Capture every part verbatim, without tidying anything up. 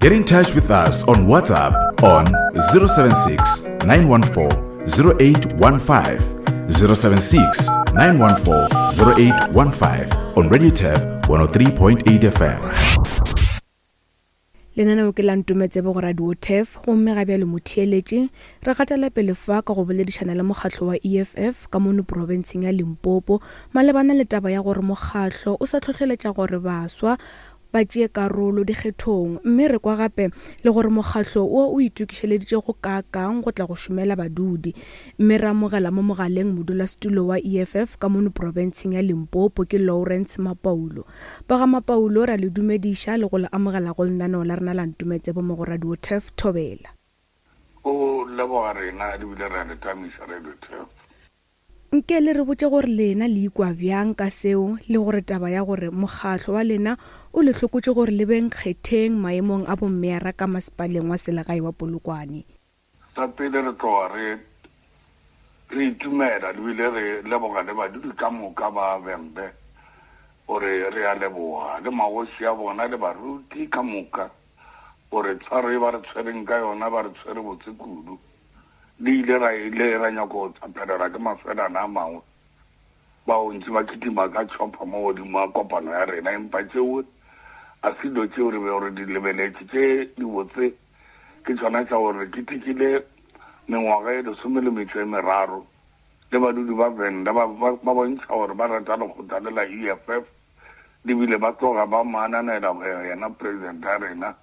Get in touch with us on WhatsApp on zero seven six, nine one four, zero eight one five, zero seven six, nine one four, zero eight one five on Radio Turf one oh three point eight F M. Lenaneo ke la Ntometsebe go Radio Turf, gomme ga bjale motheeletše re gatela pele fa ka go boledišana le mokgatlo wa E F F ka mono profenseng ya Limpopo malebana le taba ya gore mokgatlo o sa hlohleletša gore baswa ba tšee karolo dikgethong, mme re kwa gape le gore mokgatlo wo o itokišeleditše go kaakang go tla go šomela badudi. Mme re amogela mo mogaleng modulasetulo wa E F F ka mono profenseng ya Limpopo ke Lawrence Mapaulo. Ba ga Mapaulo, ra le dumediša le go le amogela go lenaneo la rena la Ntometsebe mo go Radio Turf Thobela. O leboga rena ebile re a le tamiša Radio Turf. Nke le re botše gore lena le ikwa bjang ka seo, le gore taba ya gore mokgatlo wa lena o le hlokotše gore le beng kgetheng maemong a bommeyara ka masepaleng wa selegae wa Polokwane. Sa pele re tloga re, re itumela ebile re leboga le badudi ka moka ba Vhembe gore re a leboga, le magoši a bona le baruti ka moka gore tshwaro e ba re tshwereng ka yona ba re tshwere botse kudu. Le ile ra ile ra nyaka go tsapelela ke mafelana a mangwe bao ntse ba kitima ka tšhopha mo godimo ga kopano ya rena, empa tšeo a se dilo tšeo re bego re di lebeletše. Tše di botse ke tšona tša gore re ketekile mengwaga e lesome le metšo e meraro le badudi ba Venda ba, ba, ba bontšha gore ba rata lekgotla le la E F F, ebile ba tloga ba mo ananela go yena president ya rena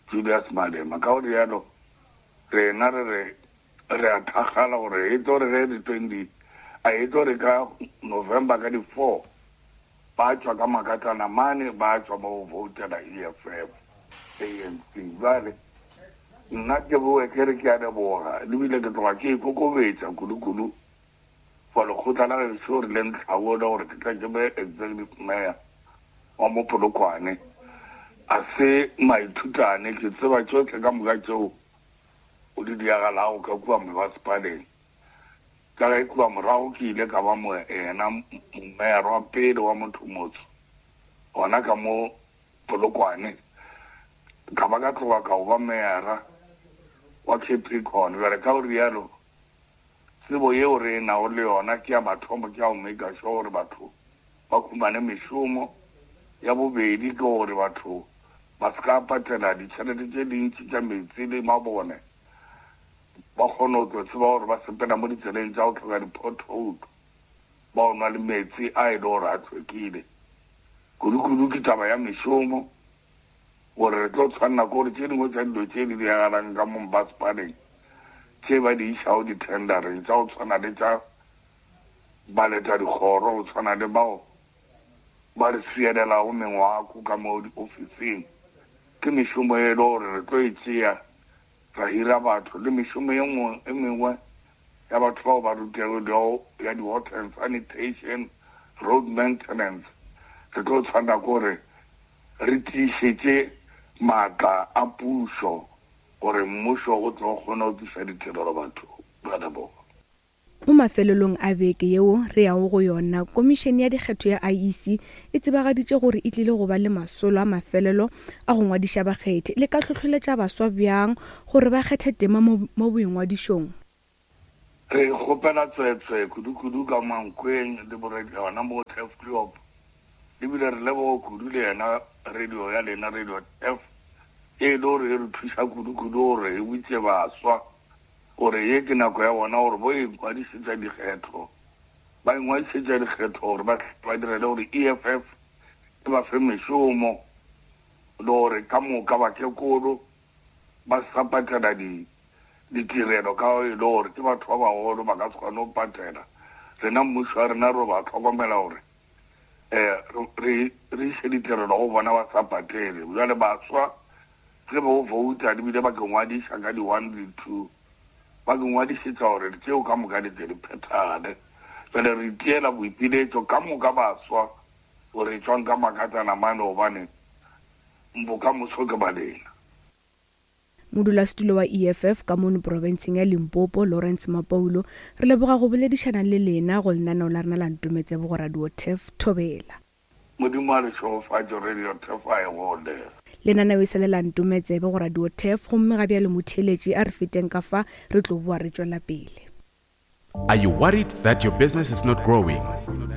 Julius Malema. Ka go rialo rena re re re a thakgala gore e tlo re ge di twenty, a e tlo re ka November ka di four ba tšwa ka makatlana mane ba tšwa ba go voutela E F F A N C. Jwale nna ke boe ke re ke a leboga, ebile ke tloga ke ikokobetša kudu-kudu for lekgotla la gešo re le ntlhabole gore ke tla ke be executive mayor wa mo Polokwane. A se maithutane, ke tseba tšohle ka moka tšeo o di diagalago ka kua mebasepaleng. Ka ge kua morago ke ile ka ba mo yena mayor wa pele wa motho motho gona ka mo Polokwane, ka ba ka tloga ka ba mayor wa Capricorn. Bjale ka go rialo tsebo yeo re nago le yona ke ya mathomo, ke ya go make sure gore batho ba humane mešomo. Ya bobedi ke gore batho ba se ka patela ditšhelete tše dintši tša metsi le mabone, ba kgone go tlo tseba gore ba sepela mo ditseleng tša go hloka di-pothole, ba o nwa le metsi a e le gore a hlwekile. Kudu-kudu ke taba ya mešomo, gore re tlo tshwanela ke gore tše dingwe tša dilo tše di diragalang ka mo masepaleng tše ba di išago di-tendereng tša go tshwana le tša baleta dikgoro, go tshwana le bao ba re sielelago mengwako ka mo diofising, ke mešomo e le gore re tlo e tšea ra hira batho, le mešomo e nngwe e mengwe ya batho bao ba rutegilego ya di-water and sanitation, road maintenance. Re tlo tshwanela ke gore re tiišetše maatla a pušo gore mmušo o tlo kgona go tliša ditirelo batho ba leboga. Mo mafelelong a beke yeo re yago go yona, Komišene ya Dikgetho ya I E C e tsebagaditše gore e tlile go ba le masolo a mafelelo a go ngwadiša bakgethi. Le ka hlohleletša baswa bjang gore ba kgethe tema mo, mo boingwadišong? Re kgopela tswetswe kudu-kudu ka Mankweng le boredi yona mo Turfloop, ebile re leboga kudu le yena radio ya lena Radio Turf, e le gore e re thuša kudu-kudu gore e botše baswa gore ye ke nako ya bona gore bo ingwadišetša dikgetho, ba ingwadišetša dikgetho gore ba, ba direle gore E F F e ba fe mešomo, le gore ka moka bakekolo ba sa patela di-, ditirelo ka e le gore ke batho ba bagolo ba ka se kgone go patela. Rena mmušo wa rena re ba tlhokomela gore, eh, re, re iše ditirelo go bona ba sa patele. Bjale baswa ge ba o vouta ebile ba ke ngwadiša ka di-one le two, ba ke ngwadišetša gore tšeo ka moka di tle di phethagale. Bjale re itiela boipiletšo ka moka baswa gore tšwang ka makatlana mane, gobane bokamoso ke ba lena. Modulasetulo wa E F F ka mono profenseng ya Limpopo, Lawrence Mapaulo, re leboga go boledišana le lena go lenaneo la rena la Ntometsebe go Radio Turf Thobela. Modimo a le šegofatše, Radio Turf a e gole. Lenaneo e sa le la Ntometsebe go Radio Turf, gomme ga bjale motheeletši a re feteng ka fa re tlo boa re tšwela pele. Are you worried that your business is not growing?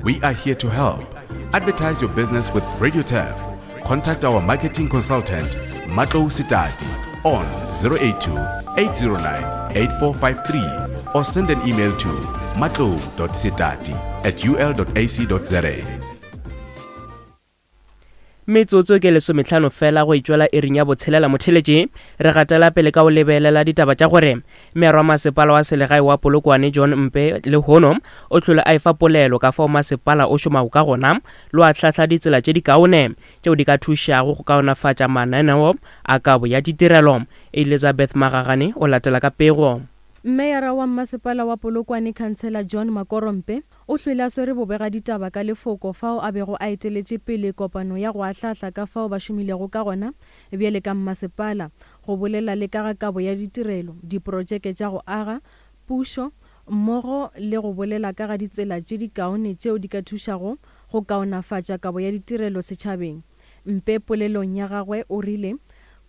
We are here to help. Advertise your business with Radio Turf. Contact our marketing consultant, Matlou Sitati, on zero eight two, eight zero nine, eight four five three or send an email to matlou dot sitati at u l dot a c dot z a. Metsotso ke lesometlhano fela go itšwela iring ya botshelela motheletši. Re gatela pele ka go lebelela ditaba tša gore mearo wa masepala wa selegae wa Polokwane John Mpe lehono o hlole a efa polelo ka fao masepala o šomago ka gona le wa hlahla ditsela tše dikaone tšeo di ka thušago go kaonafatša mananeo a kabo ya ditirelo. Elizabeth Magagane o latela ka pego. Meyara wa masepala wa Polokwane Councillor John Makorompe o hlwele a swere bobega ditaba ka lefoko fao a bego a eteletše pele kopano ya go ahlahla ka fao ba šomilego ka gona bjale ka mmasepala go bolela le ka ga kabo ya ditirelo, diprojeke tša go aga, pušo mmogo le go bolela ka ga ditsela tše dikaone tšeo di ka thušago go kaonafatša kabo ya ditirelo setšhabeng. Mpe polelong ya gagwe o rile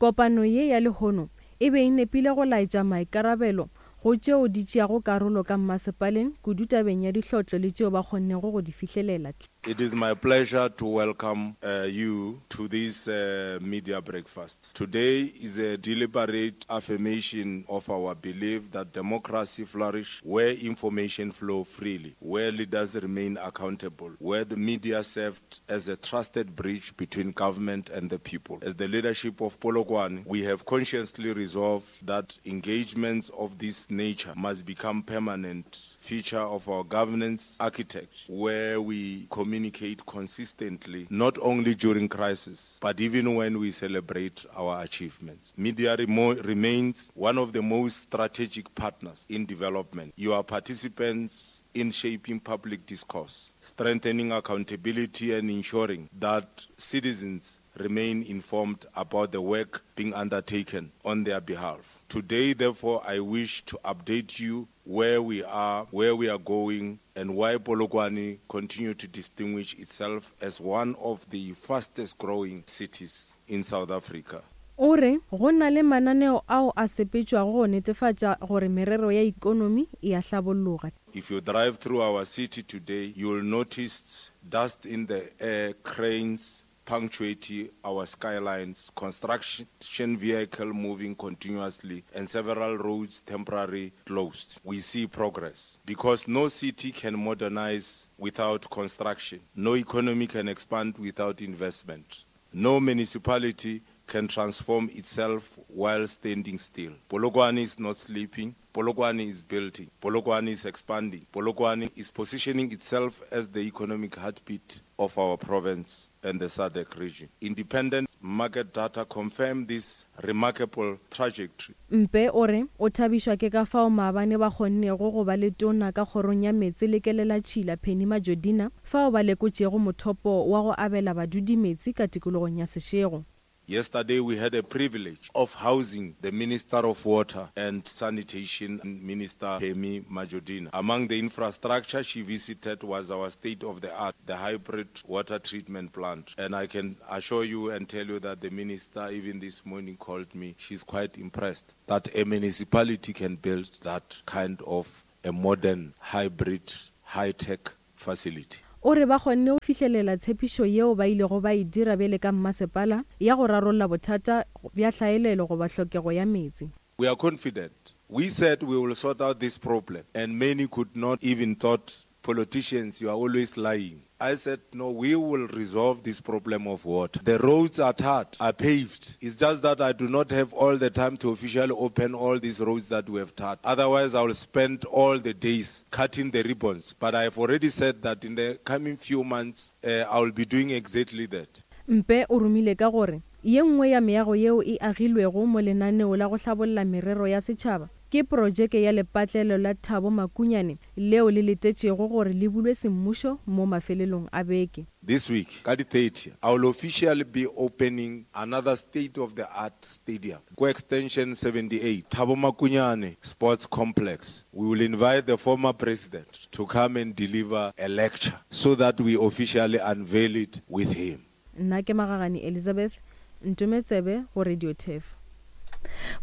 kopano ye ya lehono e be e nepile go laetša maikarabelo go tšeo di tšeago karolo ka mmasepaleng kudu tabeng ya dihlotlo le tšeo ba kgonnego go di fihlelela. It is my pleasure to welcome, uh, you to this, uh, media breakfast. Today is a deliberate affirmation of our belief that democracy flourishes where information flows freely, where leaders remain accountable, where the media served as a trusted bridge between government and the people. As the leadership of Polokwane, we have consciously resolved that engagements of this nature must become permanent feature of our governance architecture, where we communicate consistently, not only during crisis, but even when we celebrate our achievements. Media remo- remains one of the most strategic partners in development. You are participants in shaping public discourse, strengthening accountability and ensuring that citizens remain informed about the work being undertaken on their behalf. Today, therefore, I wish to update you where we are, where we are going, and why Polokwane continue to distinguish itself as one of the fastest growing cities in South Africa. O re go na le mananeo ao a sepetšwago go netefatša gore merero ya ikonomi e a hlabolloga. If you drive through our city today, you will notice dust in the air, cranes punctuating our skylines, construction vehicle moving continuously, and several roads temporarily closed. We see progress because no city can modernize without construction. No economy can expand without investment. No municipality can transform itself while standing still. Polokwane is not sleeping. Polokwane is building. Polokwane is expanding. Polokwane is positioning itself as the economic heartbeat of our province and the SADC region. Independent market data confirm this remarkable trajectory. Mpe o re o thabišwa ke ka fao maabane ba kgonnego go ba le tona ka kgorong ya meetse le kelela tšhila Penny Majodina fao ba lekotšego mothopo wa go abela badudi metsi ka tikologong ya Seshego. Yesterday we had a privilege of housing the Minister of Water and Sanitation, Minister Pemmy Majodina. Among the infrastructure she visited was our state-of-the-art, the hybrid water treatment plant. And I can assure you and tell you that the minister even this morning called me. She's quite impressed that a municipality can build that kind of a modern, hybrid, high-tech facility. O re ba kgonne go fihlelela tshepišo yeo ba ilego ba e dira bjale ka mmasepala ya go rarolla bothata bja hlaelelo goba hlokego ya meetse. We are confident. We said we will sort out this problem, and many could not even thought, politicians, you are always lying. I said, no, we will resolve this problem of water. The roads are tarred, are paved. It's just that I do not have all the time to officially open all these roads that we have tarred. Otherwise, I will spend all the days cutting the ribbons. But I have already said that in the coming few months, uh, I will be doing exactly that. Mpe o romile ka gore ye nngwe ya meago yeo e agilwego mo lenaneo la go hlabolla merero ya setšhaba ke projeke ya lepatlelo la Thabo Makunyane leo le letetšego gore le bulwe semmušo mo mafelelong a beke. This week, ka di thirty, I will officially be opening another state-of-the-art stadium, Ko Extension seventy-eight, Thabo Makunyane Sports Complex. We will invite the former president to come and deliver a lecture so that we officially unveil it with him. Nna ke Magagane Elizabeth, Ntometsebe go Radio Turf.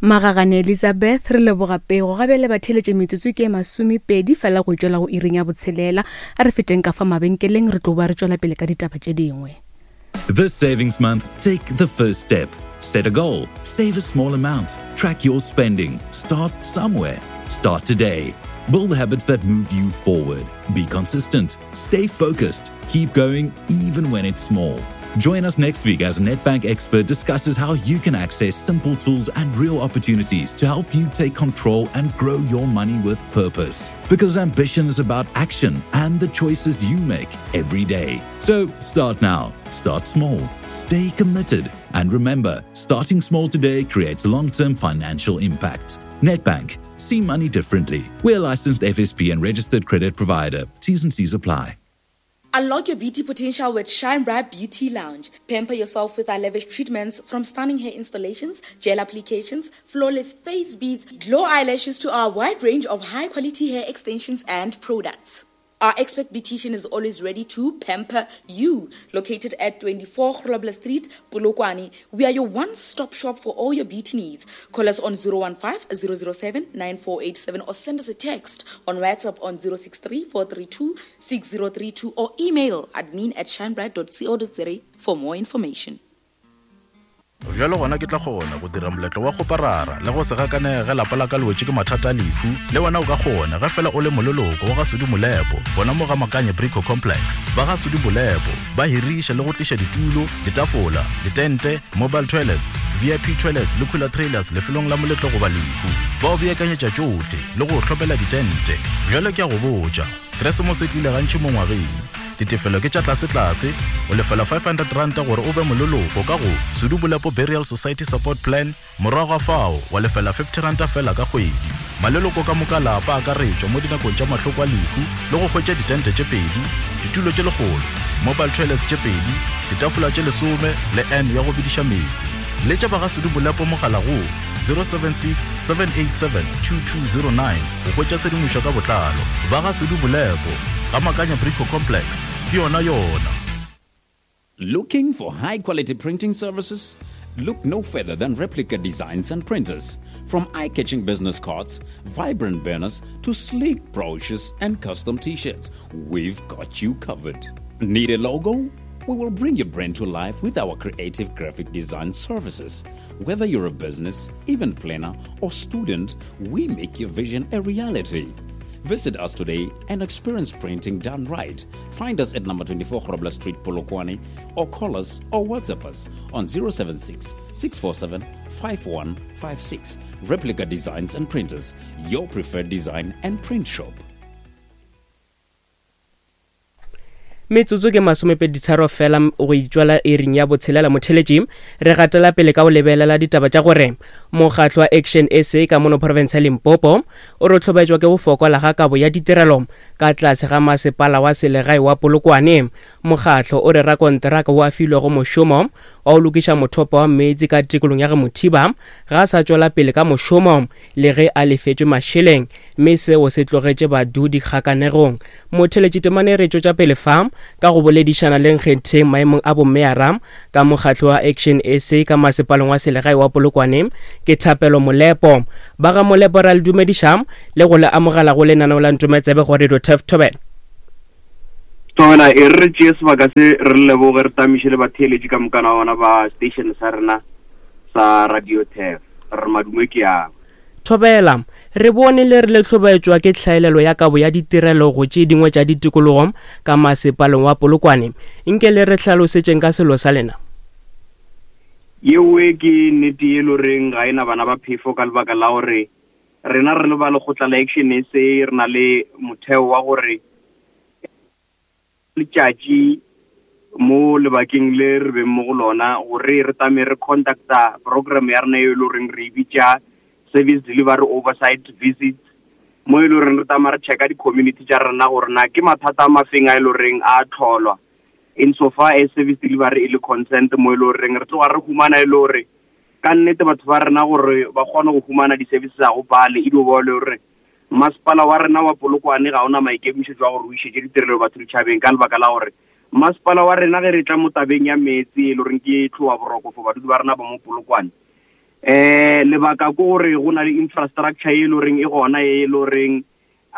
Magagane Elizabeth, re leboga pego. Ga bjale batheeletše metsotso ke masomepedi fela go tšwela go iring ya botshelela. A re feteng ka fa mabenkeleng, re tlo ba re tšwela pele ka ditaba tše dingwe. This savings month, take the first step. Set a goal, save a small amount, track your spending, start somewhere. Start today. Build habits that move you forward. Be consistent, stay focused, keep going even when it's small. Join us next week as Nedbank expert discusses how you can access simple tools and real opportunities to help you take control and grow your money with purpose. Because ambition is about action and the choices you make every day. So start now, start small, stay committed, and remember, starting small today creates long-term financial impact. Nedbank, see money differently. We're a licensed F S P and registered credit provider. T's and C's apply. Unlock your beauty potential with Shine Bright Beauty Lounge. Pamper yourself with our lavish treatments, from stunning hair installations, gel applications, flawless face beads, glow eyelashes to our wide range of high-quality hair extensions and products. Our expert beautician is always ready to pamper you. Located at twenty-four Grobler Street, Polokwane, we are your one-stop shop for all your beauty needs. Call us on zero one five, zero zero seven, nine four eight seven or send us a text on WhatsApp on zero six three, four three two, six zero three two or email admin at shinebright dot co dot za for more information. Bjalo gona ke tla kgona go dira moletlo wa go parara le go se gakanege lapa la ka le wetše ke mathata a lehu. Le wena o ka kgona ge fela o le moleloko wa ga Sudi Molepo, bona mo ga Makanye Brico Complex. Ba ga Sudi Molepo ba hiriša le go tliša ditulo, ditafola, ditente, mobile toilets, V I P toilets le cooler trailers lefelong la moletlo goba lehu. Ba o beakanyetša tšohle le go hlopela ditente. Bjalo ke a go botša, Keresemose e tlile gantši mo ngwageng. Ditefelo ke tša tlase-tlase, o lefela five hundred rand gore o be moleloko ka go Sudi Molepo Burial Society Support Plan, morago ga fao wa lefela fifty rand fela ka kgwedi. Maleloko ka moka lapa a akaretšwa mo dinakong tša mahloko a lehu le go hwetša ditente tše pedi, ditulo tše lekgolo, mobile toilets tše pedi, ditafola tše lesome le N ya go bidiša meetse. Letša ba ga Sudi Molepo mogala go zero seven six, seven eight seven, two two zero nine go hwetša tshedimošo ka botlalo. Ba ga Sudi Molepo ga Makanya Brico Complex, ke yona yona. Looking for high-quality printing services? Look no further than Replica Designs and Printers. From eye-catching business cards, vibrant banners, to sleek brochures and custom t-shirts, we've got you covered. Need a logo? We will bring your brand to life with our creative graphic design services. Whether you're a business, event planner, or student, we make your vision a reality. Visit us today and experience printing done right. Find us at number twenty-four Grobler Street, Polokwane, or call us or WhatsApp us on zero seven six, six four seven, five one five six. Replica Designs and Printers, your preferred design and print shop. Metsotso ke masomepedi tharo fela go itšwala iring ya botshelela motheletši. Re gatela pele ka go lebelela ditaba tša gore mokgatlo wa Action S A ka mono province ya Limpopo o re tlhobaetšwa ke go fokola ga kabo ya ditirelo ka tlase ga masepala wa selegae wa Polokwane. Mokgatlo o re rakonteraka o a filwego mošomo wa go lokiša mothopo wa meetse ka tikolong ya Mothiba ga a sa tšwela pele ka mošomo le ge a lefetšwe mašeleng, mme seo se tlogetše badudi kgakanegong. Motheletši temane re tšwetša pele fa ka go boledišana le Nkgetheng maemong a bomeyara ka mokgatlo wa Action S A ka masepaleng wa selegae wa Polokwane ke Thapelo Molepo. Ba ga Molepo ra le dumediša le go le amogela go lenaneo la Ntometsebe go Radio Turf Thobela. Thobela, e re tšee sebaka se re leboge re tamiše le batheeletši ka mokana ona ba station sa rena sa Radio Turf. Re madume ke yang. Thobela, re bone le re le tlhobaetšwa ke tlhaelelo ya kabo ya ditirelo go tše dingwe tša ditikologo ka masepaleng wa Polokwane. Nke le re hlalosetšeng ka selo sa lena. Yewe ke nnete e le goreng ga ena bana ba phefo ka lebaka la gore rena re le ba lekgotla la Action S A re na le motheo wa gore letšatši mo lebakeng le re beng mo go lona gore re tame re conducta program ya rena e le goreng re e bitša service delivery oversight visits, mo e le goreng re tama re checka di-community tša rena gore na ke mathata a mafeng a e le goreng a tlholwa insofar as service delivery e le consent, mo e le goreng re tloga re humana e le gore ka nnete batho ba rena gore ba kgone go humana di-services tsa go pale e dio ba le gore masepala wa rena wa Polokwane ga ona maikemišetšo a gore o išetše ditirelo batho ditšhabeng ka lebaka la gore Masepala wa rena ge re tla mo tabeng ya meetse e le goreng ke tlhowa boroko for badudi ba rena ba mo Polokwane, um lebaka ke gore go na le infrastructure e le goreng e gona e le goreng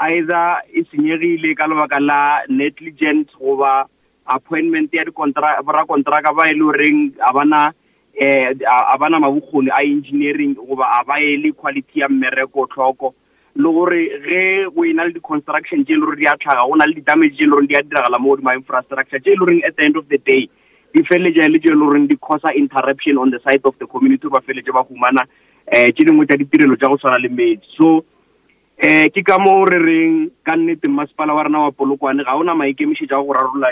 either e senyegile ka lebaka la negligent goba appointment ya borakontraka ba e le goreng a bana um a bana mabokgoni a engineering goba a ba ele quality ya mmereko tlhoko, le gore ge go ena le di-construction tše e le gore di a tlhaga, go na le di-damage tše e le gore di a diragala mo godimo infrastructure tše e le goreng at the end of the day di feleletša e le tše e le goreng di causa interruption on the side of the community, ba feleletše ba humana um tše dingwe tša ditirelo tša go tshwana le metsi. So um ke ka moo re reng ka nnete masepala wa rena wa Polokwane ga ona maikemišetšo a go rarolla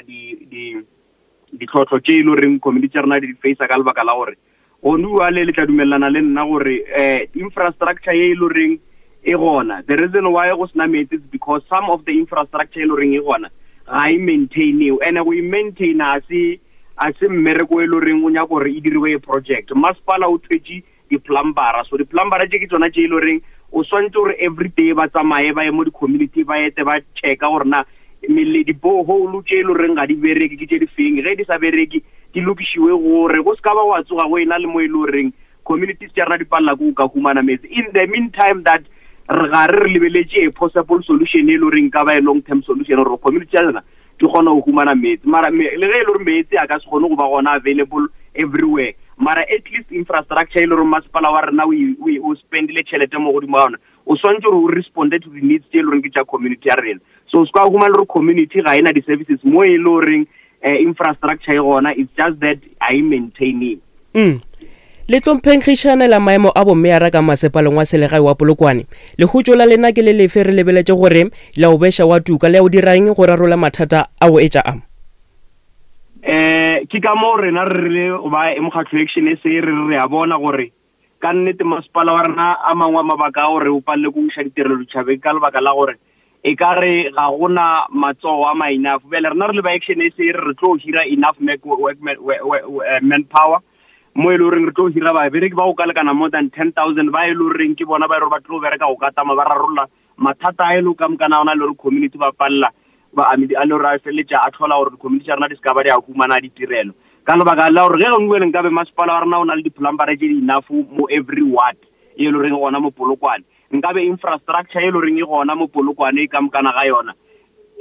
ditlhohlo tše e le goreng community tša rena di facea ka lebaka la gore gone bjale le tla dumelelana le nna gore um infrastructure ye e le goreng e gona, the reason why go sena metsi is because some of the infrastructure e le goreng e gona ga e maintainiwe, and go e maintaina a se a se mmereko e le goreng o nyaka gore e diriwe project. Masepala o thwetše di-plumbera, so di-plumbera tše ke tsona tše e le goreng o swantse gore every day ba tsamaye ba ye mo di-community ba ete ba checka gore na di-borehole tše e le goreng ga di bereke ke tše di feng, ge di sa bereke di lokišiwe gore go se ka ba wa tsoga go ena le mo e le goreng communities tša rena di palela ke go ka humana metsi. In the meantime that re ga re re lebeletše a possible solution e le goreng ka ba a long term solution gore community ya rena di kgona go humana metsi, mara le ge e le gore metsi a ka se kgone go ba gona available everywhere, mara at least infrastructure e le gore masepala wa rena o spendile tšhelete mo godimo ga ona, o swantse gore o responde to the needs tše e le goreng ke tša community ya rena. So se ka humana gore community ga ena di-services mo e le goreng infrastructure e gona, it's just that ga e maintainiwe. Mm. Le tlhomphenkgišanela maemo a bomeyara ka masepaleng wa selegae wa Polokwane, lehutšo la lena ke le lefe? Re lebeletše gore le o beša wa tuka, le o dirang go rarolla mathata a o etša a? Um ke ka moo rena re rile ba mokgatlho Action S A re re a bona gore ka nnete masepala wa rena a mangwe a mabaka a gore o palele ko iša ditirelo ditšhabeng ka lebaka la gore e ka re ga gona matsogo a ma enough. Bjale rena re le ba Action S A re re tlo hira enough manpower mo e le goreng re tlo hira babereki ba go ka lekana more than ten thousand ba e le goreng ke bona ba e le gore ba tlo bereka go ka tama ba rarolla mathata a e le ka mokana ona le gore community ba palela ba a le gore a feleletša a tlhola gore di-community tša rena di se ka ba di a humana ditirelo ka lebaka la gore ge gongwe le nkabe masepala wa rena o na le di-plumbera tše di enough mo every ward e le goreng gona mo Polokwane, nkabe infrastructure e le goreng e gona mo Polokwane e ka mokana ga yona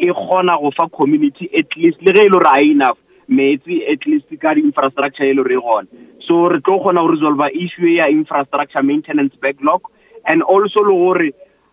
e kgona go fa community at least le ge e le gore ga e enough metsi at least ka di-infrastructure e le gore e gona. So re tlo kgona go resolve issue ya infrastructure maintenance backlog, and also le gore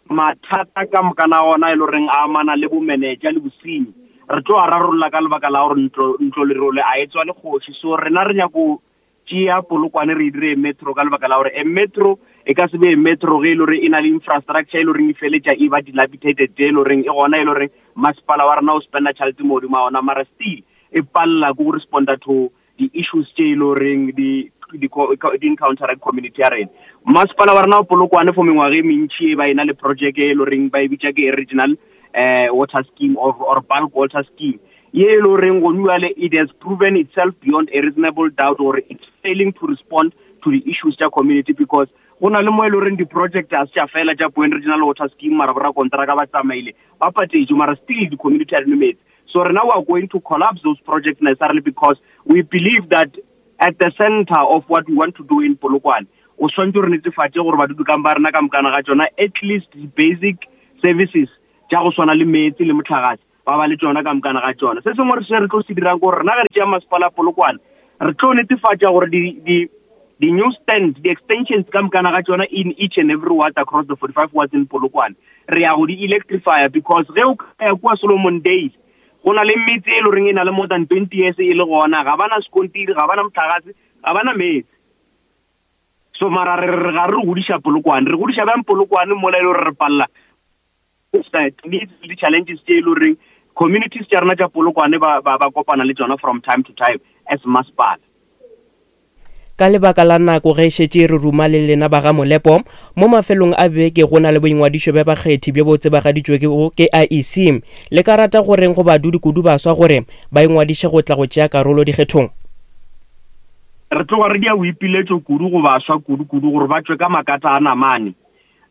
mathata ka mokana ona e le goreng a amana le bo manager le bosenyi re tlo a rarolla ka lebaka la gore ntlo ntlo lerole a e tswa le kgoši. So rena re nyako tšea Polokwane re e dire metro ka lebaka la gore e metro e ka se be metro ge e le gore e na le infrastructure e le goreng e feletša e ba dilapidated e le goreng e gona e le goreng masepala wa rena o spenda tšhelete mo godimo ga ona, mara still e palela ke go responda to di-issues tše e le goreng di di encounter community ya rena. Masepala wa rena wa Polokwane for mengwaga e mentši e ba ena le project e le goreng ba e bitša ke regional uh, water scheme or, or bulk water scheme ye e le goreng gone bjale it has proven itself beyond a reasonable doubt gore it's failing to respond to the issues tša community, because go na le mo e le goreng di-project a se tša fela tša Point Regional Water Scheme, mara borakontraka ba tsamaile ba patetše, mara still di-community a di nwe metsi. So now we are going to collapse those projects necessarily because we believe that at the center of what we want to do in Polokwane, o swantse re netefatše gore badudi ka ba rena ka mokana ga tšona at least the basic services tša go swana le metsi le motlakase ba ba le tšona ka mokana ga tšona. Se sengwe se re tlo se dirang gore rena ge re tšea masepala Polokwane re tlo netefatša gore di di di new stand, the extensions ka mokana ga tšona in each and every ward across the forty-five wards in Polokwane re ya go di electrify, because ge o ka ya kua Solomon Dale go na le metse e le goreng e na le more than twenty years e le gona, ga bana sekontiri, ga bana motlakase, ga bana metsi. So mara re re ga re godiša Polokwane, re godiša bjang Polokwane mola e le gore re palela needs le challenges tše e le goreng communities tša rena tša Polokwane ba ba kopana le tšona from time to time as masepala. Ka lebaka la nako ge šetše re ruma le lena ba ga Molepo, mo mafelong a beke go na le boingwadišo bja bakgethi bjo bo tsebagaditšwego ke I E C. Le ka rata goreng go badudi kudu baswa gore ba ingwadiše go tla go tšea karolo dikgethong? Re tloga re dia boipiletšo kudu go baswa kudu-kudu gore ba tšwe ka makata a namane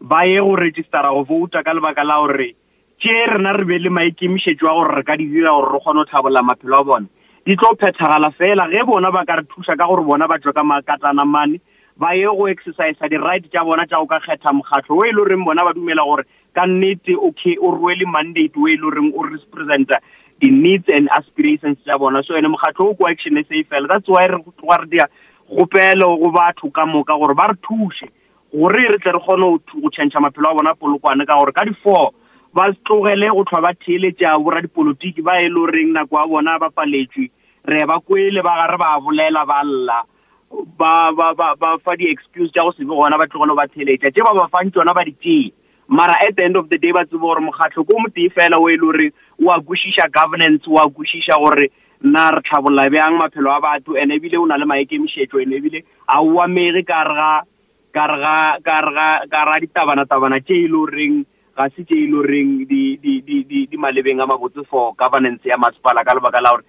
ba ye go registera go vouta ka lebaka la gore tše rena re be le maikemišetšo a gore re ka di dira gore re kgone go tlhabolla maphelo a bona. di tlo phethagala fela ge bona ba ka re thuša ka gore bona ba tšwe ka makatana mane ba ye go exercise di-right tša bona tša go ka kgetha mokgatlo o e le goreng bona ba dumela gore ka nnete okay o rwele mandate o e le goreng o representa di-needs and aspirations tša bona. So ene mokgatlo o ko Action S A fela. That's why re tloga re dia kgopelo go batho ka moka gore ba re thuše gore re tle re kgone go tšhentšha maphelo a bona Polokwane, ka gore ka di-four ba tlogele go tlhwa ba theeletša boradipolotiki ba e le goreng nako ya bona ba paletšwe. Re ba kwele ba gare ba bolela ba lla ba ba ba ba fa di-excuse tša go se be gona, ba tlogele ba theeletša tše ba ba fang tšona ba di tšee. Mara at the end of the day ba tsebe gore mokgatlo ko motee fela o e le gore o a kwešiša governance, o a kwešiša gore nna re tlhabolla bjang maphelo a batho, ene ebile o na le maikemišetšo, ene ebile a o amege ka re ga ka re ga ka re ga ka ra ditabana-tabana tše e le goreng ga se tše e le goreng di di di di di malebeng a mabotse for governance ya masepala, ka lebaka la gore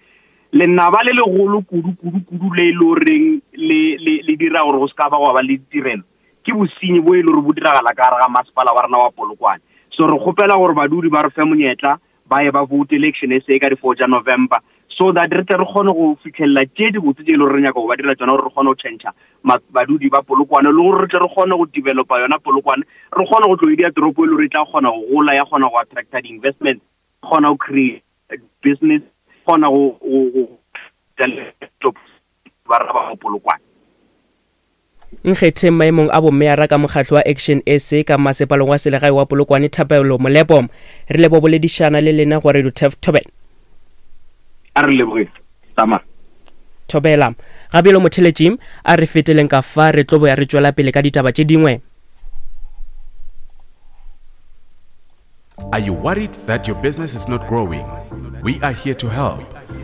lenaba le legolo kudu kudu kudu le e le goreng le le le dira gore go se ka ba go ba le ditirelo ke bosenyi bo e le gore bo diragala ka gare ga masepala wa rena wa Polokwane. So re kgopela gore badudi ba re fe monyetla ba ye ba vote election S A ka di-four tša November, so that re tle re kgone go fitlhelela tše dibotse tše e le gore re nyaka go ba dira tsona, gore re kgone go tšhentšha badudi ba Polokwane, le gore re tle re kgone go developa yona Polokwane, re kgone go tlo e dia toropo e le gore e tla kgona go gola, ya kgona go attracta di-investment, kgona go create business, kgona go go ba rena ba mo Polokwane. Nkgetheng maemong a bommeara ka mokgatlo wa Action S A ka masepaleng wa selegae wa Polokwane Thapelo Molepo, re lebo boledišana le lena go Radio Turf Thobela. A re leboge tama Thobela. Gabjalo motheletši, a re feteleng ka fa re tlo boya re tšwela pele ka ditaba tše dingwe. Are you worried that your business is not growing? We are here to help.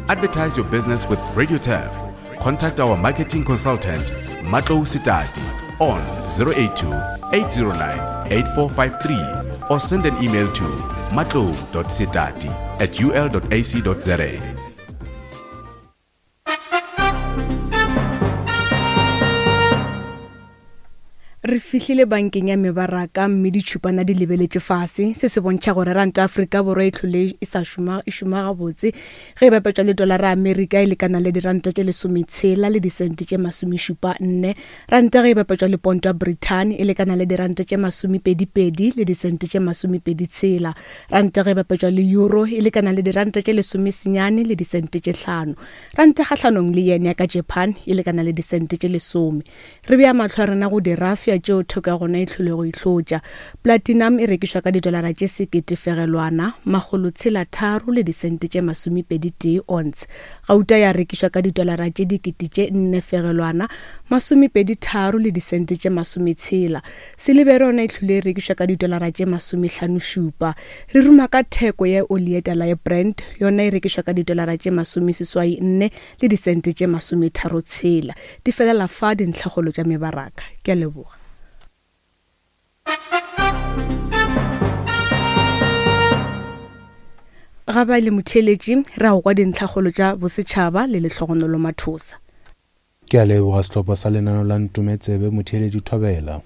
Advertise your business with Radio Turf. Contact our marketing consultant, Matlou Sitati, on zero eight two, eight zero nine, eight four five three or send an email to matlou dot sitati at u l dot a c dot z a. Re fihlile bankeng ya mebaraka mme ditšhupana di lebeletše fase. Se se bontšha gore ranta Afrika Borwa e tlhole e sa šoma e šoma gabotse ge e bapetšwa le dolara Amerika e lekana le diranta tše lesometshela le disente tše masomešupa nne. Ranta ge e bapetšwa le ponto ya Britain e lekana le diranta tše masomepedipedi le disente tše masomepedi tshela. Ranta ge e bapetšwa le euro e lekana le diranta tše lesomesenyane le disente tše hlano. Ranta kgahlanong le yen ya ka Japan e lekana le disente tše lesome. Re bea mahlo a rena go dirafia tšeo theko ya gona e tlhole go ihlotša. Platinum e rekišwa ka didolara tše sekete fegelwana makgolo tshela tharo le disente tše masomepedi tee ounce. Gauta ya rekišwa ka didolara tše dikete tše nne fegelwana masomepedi tharo le disente tše masometshela. Silibere yona e tlhole e rekišwa ka didolara tše masomehlano šupa. Re ruma ka theko ya oli ye tala ya Brent, yona e rekišwa ka didolara tše masomeseswai nne le disente tše masometharo tshela. Di felela fa dintlhakgolo tša mebaraka. Ke a leboga. Ga ba le motheeletši, re a go kwa dintlhakgolo tša bosetšhaba le Lehlogonolo Mathosa. Ke a leboga sehlopha sa lenano la Ntometsebe motheeletši Thobela.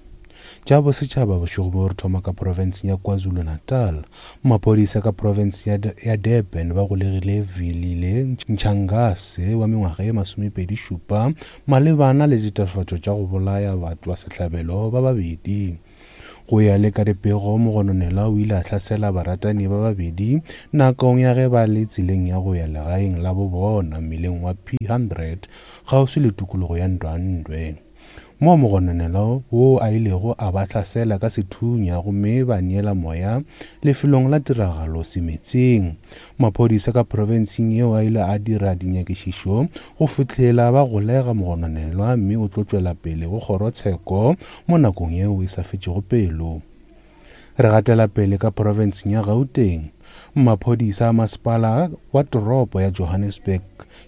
Tša bosetšhaba bošego bo re thoma ka profenseng ya KwaZulu-Natal. Maphodisa ka profense ya, ya Durban ba golegile Velile Ntshangase wa mengwaga ye masomepedi šupa malebana le ditatofatšo tša go bolaya batho ba sehlabelo ba babedi. Go ya le ka dipego, mogononelwa o ile a hlasela baratani ba babedi nakong ya ge ba le tseleng ya go ya legaeng la bobona mmileng wa P hundred kgauswi le tikologo ya Ndwandwe. Mo mogononelwa wo a ilego a ba hlasela ka sethunya gomme ba neela moya lefelong la tiragalo semetseng. Maphodisa ka profenseng yeo a ile a dira dinyakišišo go fihlela ba golega mogononelwa mme o tlo tšwela pele go kgorotsheko mo nakong yeo e sa fetšego pelo. Re gatela pele ka profenseng ya Gauteng. Maphodisa a masepala wa toropo ya Johannesburg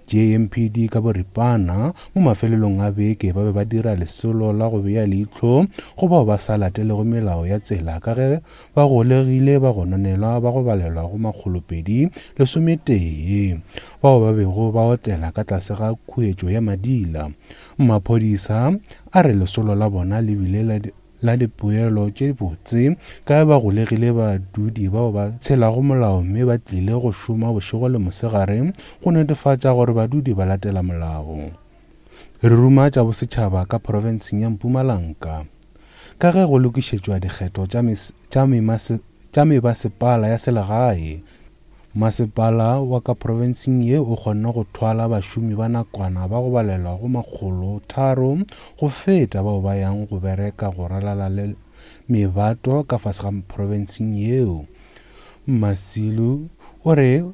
J M P D ka boripana mo mafelelong a beke ba be ba dira lesolo la go bea leihlo go bao ba sa latelego melao ya tsela ka ge ba golegile ba gononelwa ba go balelwa go makgolopedi lesometee bao ba bego ba otlela ka tlase ga khuetšo ya madila. Maphodisa a re lesolo la bona le bile la la dipoelo tše botse ka ge ba golegile badudi bao ba tshelago molao mme ba tlile go šoma bošego le mosegare go netefatša gore badudi ba latela molao. Re ruma tša bosetšhaba ka profenseng ya Mpumalanga ka ge go lokišetšwa dikgetho tša mebasepala ya selegae. Masepala wa ka profenseng ye o kgonne go thwala bašomi ba nakwana ba go balelwa go makgolo tharo go feta bao ba yang go bereka go ralala le mebato ka fase ga profenseng yeo. Masilu o re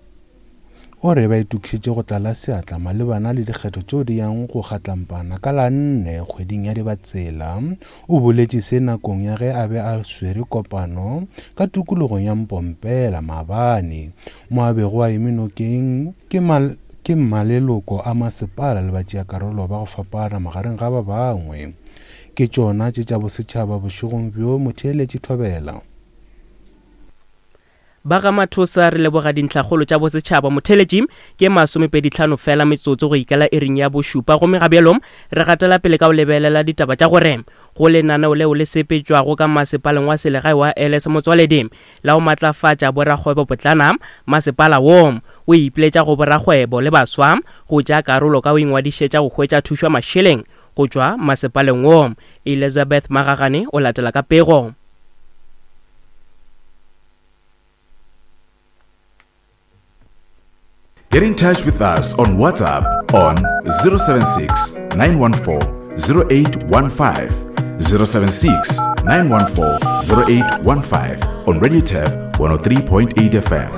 o re ba itokišetše go tlala seatla malebana le dikgetho tšeo di yang go kgatlampana ka la nne kgweding ya Dibatsela. O boletše se nakong ya ge a be a swere kopano ka tikologong ya Mpompela maabane mo a bego a eme nokeng ke mal ke maleloko a masepala le batšeakarolo ba go fapana magareng ga ba bangwe. Ke tšona tše tša bosetšhaba bošegong bjo motheeletši Thobela. Ba ga Mathosa re leboga dintlhakgolo tša bosetšhaba. Motheletši ke masomepedi tlhano fela metsotso go ikela iring ya bošupa, gomme ga bjalo re gatela pele ka go lebelela ditaba tša gore go lenaneo leo le sepetšwago ka masepaleng wa selegae wa Elias Motsoaledi la go matlafatša borakgwebo potlana. Masepala wo o ipiletša go borakgwebo le baswa go tšea karolo ka go ingwadišetša go hwetša thušo ya mašeleng go tšwa masepaleng wo. Elizabeth Magagane o latela ka pego. Get in touch with us on WhatsApp on zero seven six, nine one four, zero eight one five, zero seven six, nine one four, zero eight one five on Radio Turf one oh three point eight F M.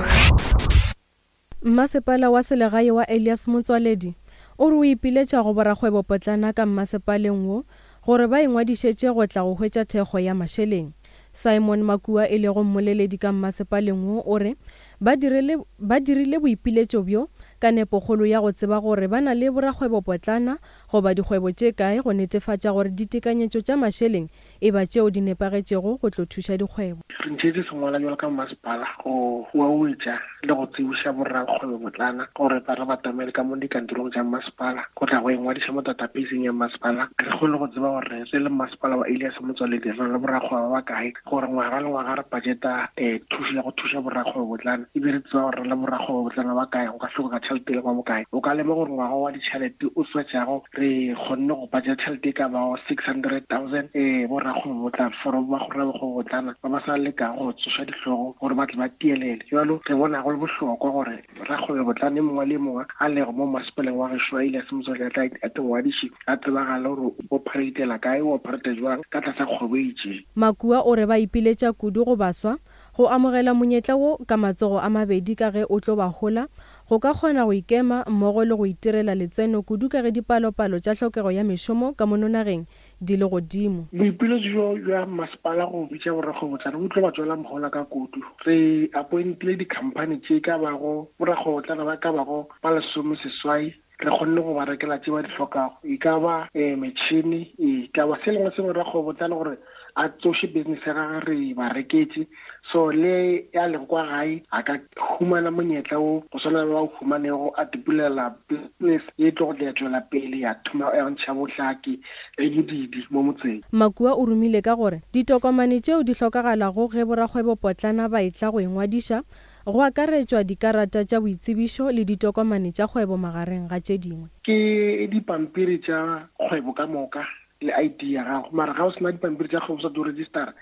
Mmasepala wa selegae wa Elias Motsoaledi o re o ipiletša go borakgwebo potlana ka mmasepaleng wo gore ba ingwadišetše go tla go hwetša thekgo ya mašeleng. Simon Makua e lego mmoleledi ka mmasepaleng wo o re ba dirile ba dirile boipiletšo bjo ka nepokgolo ya go tseba gore ba na le borakgwebo potlana goba dikgwebo tše kae go netefatša gore ditekanyetšo tša mašeleng e ba tšeo di nepagetšego go tlo thuša dikgwebo. Re ntšhetše sengwala jalo ka masepala go huauetša le go tsebiša borakgwebo potlana gore ba re batamele ka mo dikantorong tša masepala go tla go ingwadiša mo databaseng ya masepala. Re kgone go tseba gore re le masepala wa Elias Motsoaledi re na le borakgwebo ba bakae, gore ngwaga le ngwaga re budgeta um thušo ya go thuša borakgwebo potlana, ebile re tseba gore re le borakgwebo potlana ba kae, go ka hlokega tšhelete le kwa bokae. O ka lema gore ngwaga wa ditšhelete o swetšago re kgonne go budget tšhelete e ka bago six hundred thousand um borakgwebo potlana for ba borakgwebo potlana ba ba sa lekago go tsoša dihlogo gore ba tle ba tielele. Jalo re bona go le bohlokwa gore rakgwebo potlana e mongwe le mongwe a lego mo masepaleng wa gešo wa Elias Motsoaledi a tengwadiše a tsebagale gore o operatela kae, o operate jwang ka tlasa kgwebo e itšeng. Makua o re ba ipiletša kudu go baswa go amogela monyetla wo ka matsogo a mabedi ka ge o tlo ba hola go ka kgona go ikema mmogo le go itirela letseno kudu ka ge dipalopalo tša tlhokego ya mešomo ka mono nageng di le godimo. Boipiletšo bjo bja masepala go bitša borakgwebo potlana bo tlo ba tswela mohola ka kudu. Re appointile di-company tše ka bago borakgwebo potlana ba ka bago ba lesome seswai, re kgonne go ba rekela tše ba di hlokago, e ka ba um metšhini, e ka ba se lengwe sengwe rakgwebo potlana gore a tsoše business ya gagwe re ba reketše. So le ya lego kwa gae a ka humana monyetla wo go swana le ba o humanego a tipulela business ye tlo go tla tšwela pele ya thoma ya ntšha bohlaki le bodidi mo motseng. Makua o romile ka gore ditokomane tšeo di hlokagalago ge borakgwebo potlana ba etla go ingwadiša go akaretšwa dikarata tša boitsebišo le ditokomane tša kgwebo magareng ga tše dingwe. Ke dipampiri tša kgwebo ka moka le I D ya gago, mara ga o sena dipampiri tša kgwebo sa di registera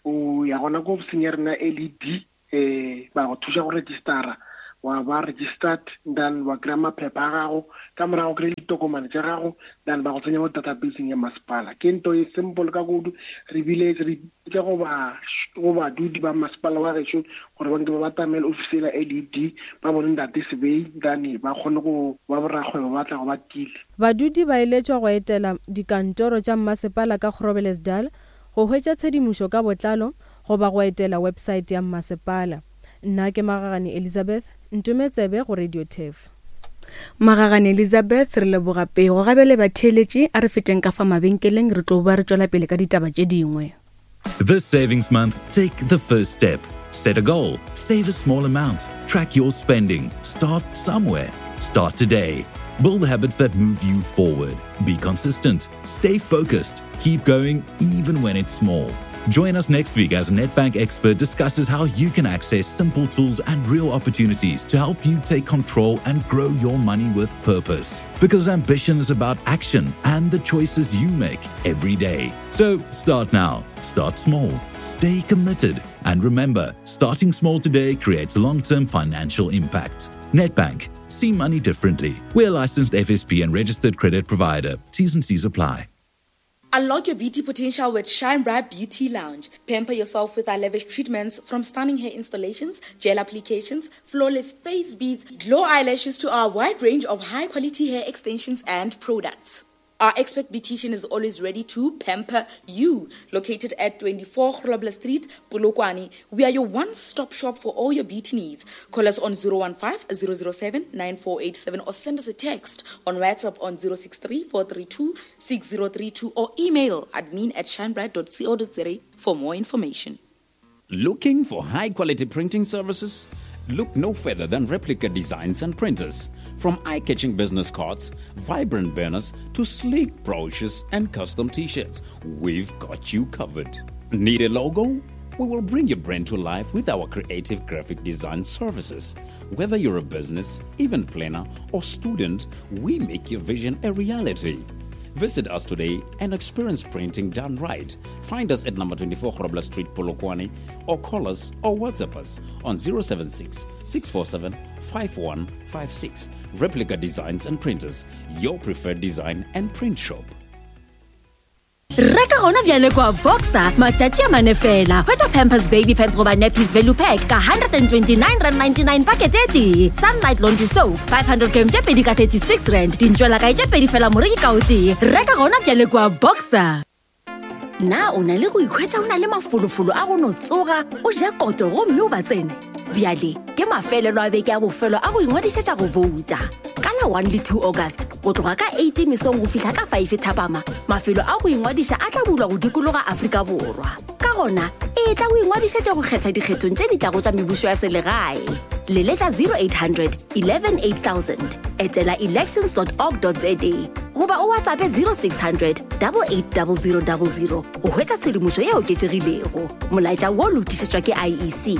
o ya gona ko ofising ya rena L E D um ba go thuša go registera, wa ba registered, then wa kry-a maphepha a gago, ka morago kry-e ditokomane tša gago, then ba go tsenya mo databaseng ya masepala. Ke nto e simple ka kudu. Re bile re bitša go ba go badudi ba masepala wa gešo gore ba nke ba batamele ofisi ela L E D ba bone ntate Sebei, then ba kgone go ba borakgwebo ba tla go ba tiile. Badudi ba eletšwa go etela dikantoro tša mmasepala ka Groblersdal go hwetša tshedimošo ka botlalo goba go etela website ya mmasepala. Nna ke Magagane Elizabeth, Ntometsebe go Radio Turf. Magagane Elizabeth, re leboga pego. Gabe le batheeletši a re feteng ka fa mabenkeleng, re tlo ba re tšwela pele ka ditaba tše dingwe. This savings month, take the first step. Set a goal, save a small amount, track your spending, start somewhere. Start today. Build habits that move you forward. Be consistent. Stay focused. Keep going even when it's small. Join us next week as a Nedbank expert discusses how you can access simple tools and real opportunities to help you take control and grow your money with purpose. Because ambition is about action and the choices you make every day. So start now, start small, stay committed, and remember, starting small today creates long-term financial impact. Nedbank, see money differently. We're licensed F S P and registered credit provider. T's and C's apply. Unlock your beauty potential with Shine Bright Beauty Lounge. Pamper yourself with our lavish treatments, from stunning hair installations, gel applications, flawless face beads, glow eyelashes to our wide range of high-quality hair extensions and products. Our expert beautician is always ready to pamper you. Located at twenty-four Grobler Street, Polokwane, we are your one-stop shop for all your beauty needs. Call us on zero one five, zero zero seven, nine four eight seven or send us a text on WhatsApp on zero six three, four three two, six zero three two or email admin at shinebright dot co dot za for more information. Looking for high-quality printing services? Look no further than Replica Designs and Printers. From eye-catching business cards, vibrant banners, to sleek brochures and custom t-shirts, we've got you covered. Need a logo? We will bring your brand to life with our creative graphic design services. Whether you're a business, event planner, or student, we make your vision a reality. Visit us today and experience printing done right. Find us at number twenty-four Grobler Street, Polokwane, or call us or WhatsApp us on zero seven six, six four seven, five one five six. Replica Designs and Printers, your preferred design and print shop. Reka gona bjale kwa Boxer matšatši a mane fela. Hwetša Pampers Baby Pants goba Nappies Value Pack ka one twenty-nine rand ninety-nine packet e tee. Sunlight Laundry Soap five hundred gram tše pedi ka thirty-six rand. Dintšwela kae tše pedi fela moreki ka o tee. Reka gona bjale kwa Boxer. Na o na le go ikhwetša o na le mafolofolo a go no tsoga, o ja koto gomme o ba tsene? Bjale ke mafelelo a beke a bofelo a go ingwadišetša go vouta. Ka la one le two August, go tloga ka eight mesong go fihla ka five thapama, mafelo a go ingwadiša a tla bulwa go dikologa Afrika Borwa. Ka gona, e tla go ingwadišetša go kgetha dikgethong tše di tlago tša mebušo ya selegae. Leletša zero eight hundred, eleven eight thousand, etela elections dot org dot za goba o WhatsApp zero six hundred, double eight double zero double zero go hwetša tshedimošo ye oketšegilego. Molaetša wo lokišetšwa ke I E C.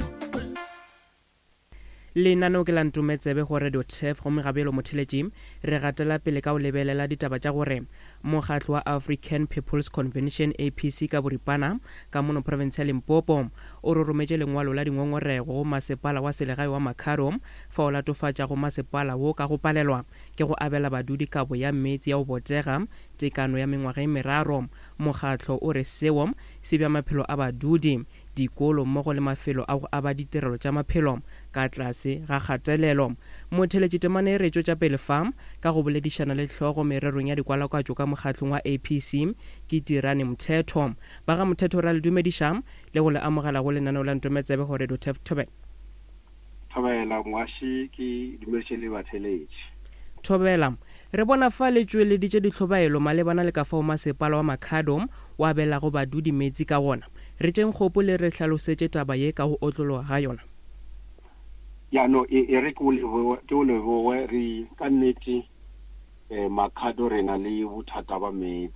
Lenaneo ke la Ntometsebe go Radio Turf, gomme gabelo motheletši re gatela pele ka o lebelela ditaba tša gore mokgatlo wa African People's Convention A P C ka boripana ka mono province ya Limpopo o rorometše lengwalo la dingongorego go masepala wa selegae wa Makhado fa o latofatša go masepala wo ka go palelwa ke go abela badudi kabo ya meetse ya go botega tekano ya mengwaga e meraro. Mokgatlo o re seo se bja maphelo a badudi, dikolo mmogo le mafelo a go aba ditirelo tša maphelo ka tlase ga kgatelelo. Motheletši temane e re tšwetša pele fa ka go boledišana le hlogo mererong ya dikwalakwatšo ka mokgatlong wa A P C ke Tirane Mthetho. Ba ga Mthetho ra le dumediša le go le amogela go lenaneo la Ntometsebe go Radio Turf. Thobela. Thobela moaši, ke dumediše le batheletši. Thobela, re bona fa le tšweleditše ditlhobaelo malebana le ka fao masepala wa Makhado wa abelago badudi metsi ka gona. Re tšeng kgopo le re hlalosetše taba ye ka go otlologa ga yona. Ya no, e, e re ke o leboge, ke o leboge, re ka nnete, eh, Makhado re na le bothata ba meetse.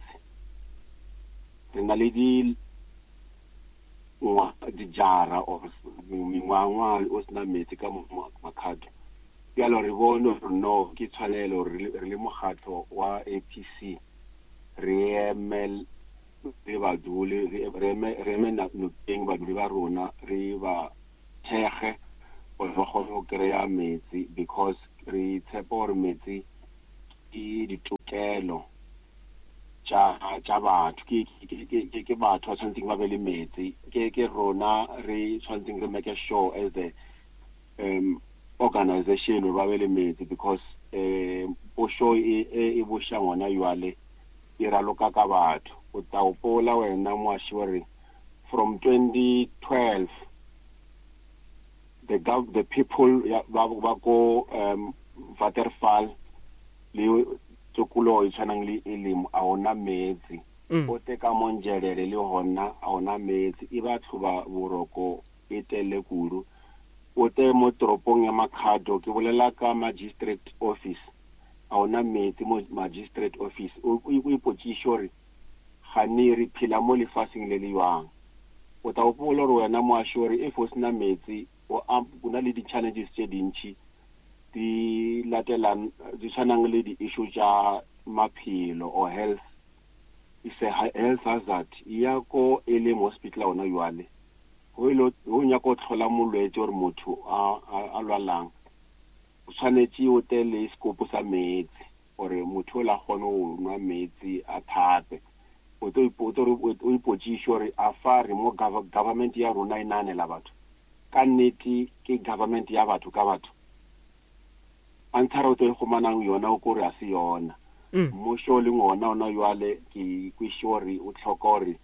Re na le di ngwa, dijara or mengwangwa o sena meetse ka mo Makhado. Bjalo re bone gore no ke tshwanelo re le, re le mokgatlo wa A P C re eme re baduli, re, re eme, re eme nokeng baduli ba rona, re ba thekge gore ba kgone go kry-a metsi, because re tshepa gore metsi ke ditokelo tša, tša batho, ke, ke, ke, ke, ke batho ba tshwanetseng ba be le metsi. Ke, ke rona re tshwanetseng re make sure as the, um, organization gore ba be le metsi, because, um, pušo e, e, e buša ngwana jwale e raloka ka batho. O tla hopola wena moaši gore from twenty twelve the gov-, the people ya, ba, ba ko, um, Waterfall le tokologo e tshwanang le Elim a hona metsi. Mm. O te ka Monjelele le hona a hona metsi, e batho ba boroko e tele kudu. O te mo toropong ya Makhado, ke bolela ka magistrate office, A ona meetse mo magistrate office. O o ipotšiše gore gane re phela mo lefaseng le le jwang. O tla gopola gore wena moaši gore if o sena meetse o na le di-challenges tše dintšhi di latelang di tshwanang le di-issue tša maphelo or health. It's a health hazard. Ya ko e leng hospital ona jwale go ile go nyaka go tlhola molwetse gore motho a a lwalang o tshwanetse o tle le sekopo sa meetse gore motho o la kgone go nwa meetse a thape. O tlo o ipotšiše gore a fa re mo government ya rona e nahanela batho ka nnete, ke government ya batho ka batho. Answer o tlo e kgomanang yona o kore a se yona. Mmušo le ngona ona jwale ke kwešiše gore o tlhoka gore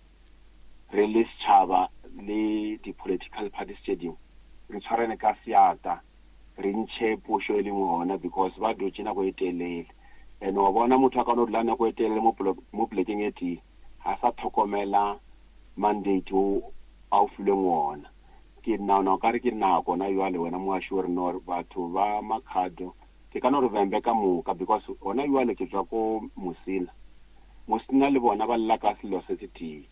re le setšhaba le di-political parties tše dingwe re tshwarane ka seatla re ntšhe pušo e leng gona because ba dutše nako e telele. And wa bona motho a ka no dula nako e telele mo polekeng e tee ga sa tlhokomela mandate o a o filweng ona. Ke nagana o kare ke nako na jwale wena moaši gore no batho ba Makhado ke ka no re Vhembe ka moka because gona jwale ke tswa ko Musina. Musina le bona ba lla ka selo se se tee.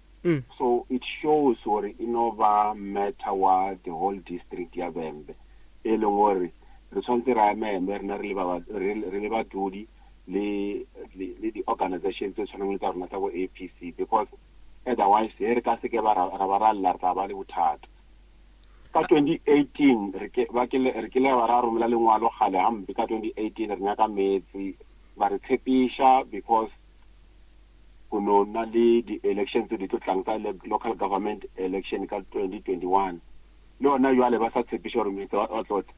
So it shows gore e no ba matter wa the whole district ya Vhembe e leng gore re tshwanetse ra eme rena re le badudi le le di-organization tse tshwanang le tsa rona tsa bo A P C because otherwise he re ka seke ba ra ba ra lla re tla ba le bothata. Ka twenty eighteen re ke ba ke re ke le ba ra romela lengwalo kgale hampe ka twenty eighteen re nyaka meetse ba re tshepiša because go no na le di-elections tse di tlo tlang tsa local government election ka twenty twenty-one. Le yona jwale ba sa tshepiša gore meetse wa tlotla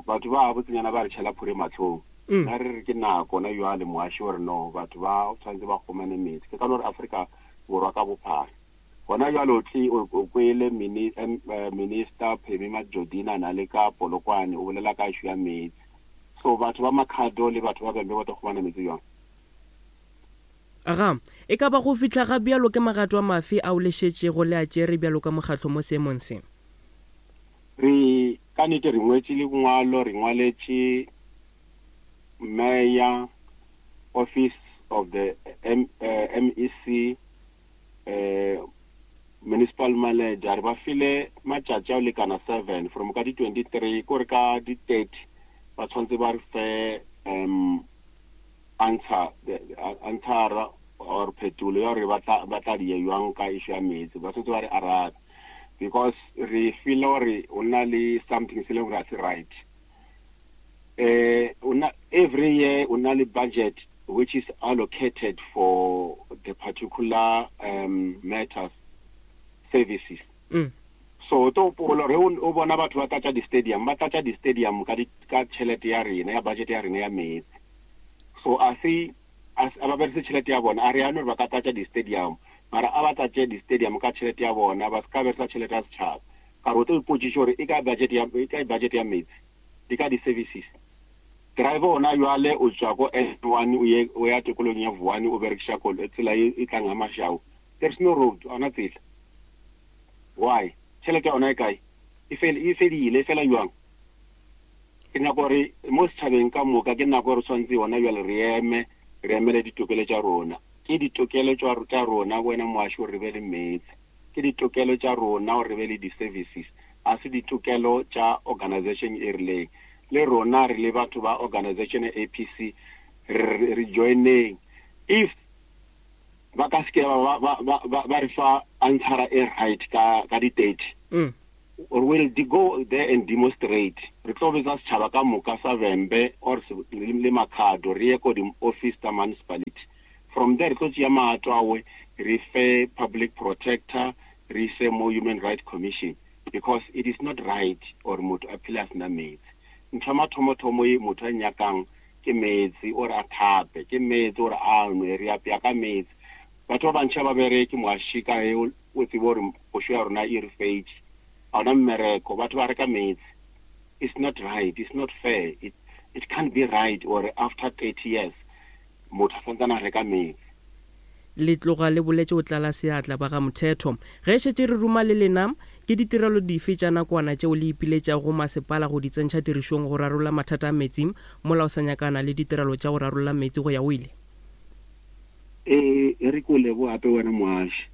batho ba botsenyana ba re tšhela phore mahlong. Nna re re ke nako na jwale moaši gore no batho ba tshwanetse ba kgomane meetse. Ke ka no re Afrika Borwa ka bophara gona jwale o tle o kwele minister Phemi Majodina na le ka Polokwane o bolela ka issue ya meetse. So batho ba Makhado le batho ba Vhembe ba tlo kgomana meetse jwang? Aga, e ka ba go fihla ga bjalo ke magato a mafe ao le šetšego le a tšere bjalo ka mokgatlo mo seemong se? Re ka nnete re ngwetše lengwalo, re ngwaletše mayor, office of the M, uh, M E C, uh, municipal manager, re ba file matšatši a lekana seven from ka di twenty-three kore ka di thirty ba tshwanetse ba re fe um answer answer or phetolo ya gore ba tla ba tla di jwang ka issue ya meetse. Ba tshwanetse ba re arabe because re feel gore o na le something se leng gore ga se right. Eh una every year o na le budget which is allocated for the particular um matters services. Mm. So to polo re o bona batho ba tlatša di-stadium ba tlatša di-stadium ka ka tšhelete ya rena ya budget ya rena ya meetse. So a se a ba berekise tšhelete ya bona a re ano re ba ka tlatša di-stadium mara a ba tlatše di-stadium ka tšhelete ya bona ba se ka berekisa tšhelete ya setšhaba. Ka re o tlo ipotšiša gore e ka budget ya e ka budget ya meetse di ka di-services. Driver ona jwale o tswa ko N one o ye o ya tikolong ya Vuwani o berekisa koloi tsela e tlang ga Mashau. There is no road ona tsela. Why? Tšhelete ya ona e kae? E fele e fedile e fela jwang? Ke nako gore mo setšhabeng ka moka ke nako gore tshwanetse yona jwale re eme re emele ditokelo tša rona. Ke ditokelo tša rona wena moaši gore re be le meetse. Ke ditokelo tša rona gore re be le di-services. A se ditokelo tša organization e rileng. Le rona re le batho ba organization ya A P C re re joineng. If ba ka seke ba ba ba ba re fa answer e right ka ka di-date mm. or will go there and demonstrate. Re tlo betsa setšhaba ka moka sa Vhembe or le Makhado re ye ko di-office tsa municipality. From there re tlo tšea maato awe re fe public protector re ise mo Human Rights Commission because it is not right or motho a phele a sena meetse. Ntho ya mathomothomo e motho a nyakang ke meetse ore a thape ke meetse ore a nwe re apea ka meetse. Batho ba bantši ba bereke moaši ka he o tsebe gore pušo ya rona e re fetše ga ona mmereko batho ba reka meetse. It's not right, it's not fair, it, it can't be right or after thirty years motho a santsane a reka meetse. Le tloga le boletše o tlala seatla ba ga Mothetho. Ge šetše re ruma le lena Ke ditirelo dife tša nakwana tšeo le ipiletšago go masepala go di tsentšha tirišong go rarolla mathata a meetse mola o sa nyakana le ditirelo tša go rarolla meetse go ya go ile? Ee, e re ke o leboge gape wena moaši.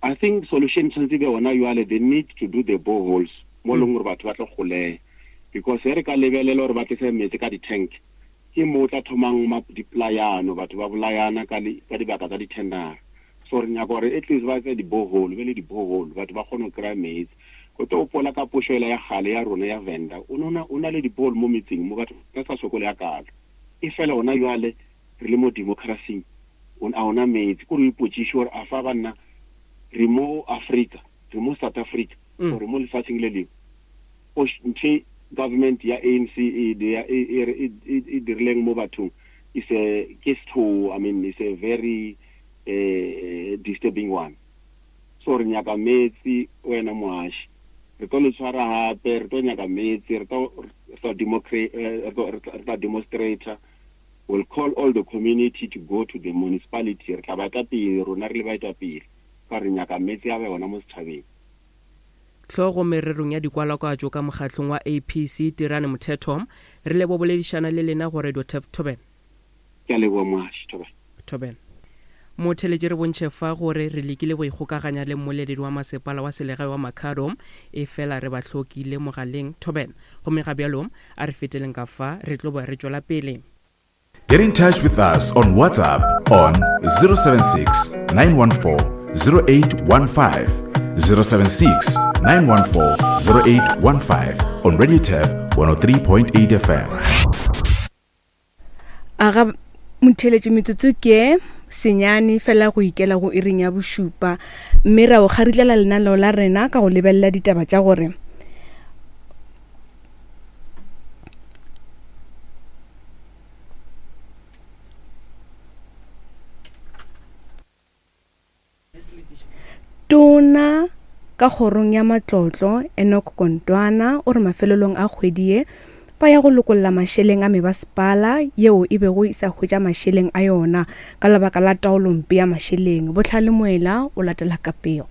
I think solution tshwanetse be gona jwale, they need to do the boreholes mo e leng gore batho ba tlo kgoleya, because ge re ka lebelela gore ba tlise meetse ka di-tank, ke mo o tla thomang dipolayano, batho ba bolayana ka ka dibaka tsa di-tendera. So re nyaka gore at least ba etse di-borehole, be le di-borehole, batho ba kgone go kry-a meetse. Ko tlo gopola ka pušo ela ya kgale ya rona ya Venda, o no o na le di-borehole mo metseng mo batho ba sa sokole ya kalo. E fela gona jwale re le mo democracy, a ona meetse. Ko re ipotšiše gore a fa banna re mo Africa, re mo South Africa, or re mo lefatsheng le lengwe. O nthe government ya A N C e e dirileng mo bathong is a ke setho, I mean it's a very uh, disturbing one. So re nyaka metsi wena moaši, re tlo le tshwara gape, re tlo nyaka metsi, re tlo re tla demonstrator. We'll call all the community to go to the municipality. Re tla ba pele rona re le baetapele ka re nyaka metsi a be gona mo setšhabeng. Hlogo mererong ya dikwalakwatšo ka mokgatlong wa A P C Tirane Mothetho, re lebo boledišana le lena go Radio Turf Thobela. Ke a leboha moaši, Thobela. Thobela. Motheletše re bontšhe fa gore re lekile go ikgokaganya le mmoleledi wa masepala wa selegae wa Makhado, e fela re ba hlokile mogaleng. Thobela. Gomme ga bjalo a re feteleng ka fa re tlo ba re tšwela pele. Get in touch with us on WhatsApp on zero seven six, nine one four, zero eight one five, zero seven six, nine one four, zero eight one five on Radio Turf one oh three point eight F M. Aga motheletše metsotso ke senyane fela go ikela go iring ya bošupa, mme ra o kgaritlela lenaneo la rena ka go lebelela ditaba tša gore Tona ka kgorong ya matlotlo Enoch Godongwana o re mafelelong a kgwedi ye ba ya go lokolla mašeleng a mebasepala yeo e bego e sa hwetša mašeleng a yona ka lebaka la taolompe ya mašeleng. Bohlale Moela o latela ka pego.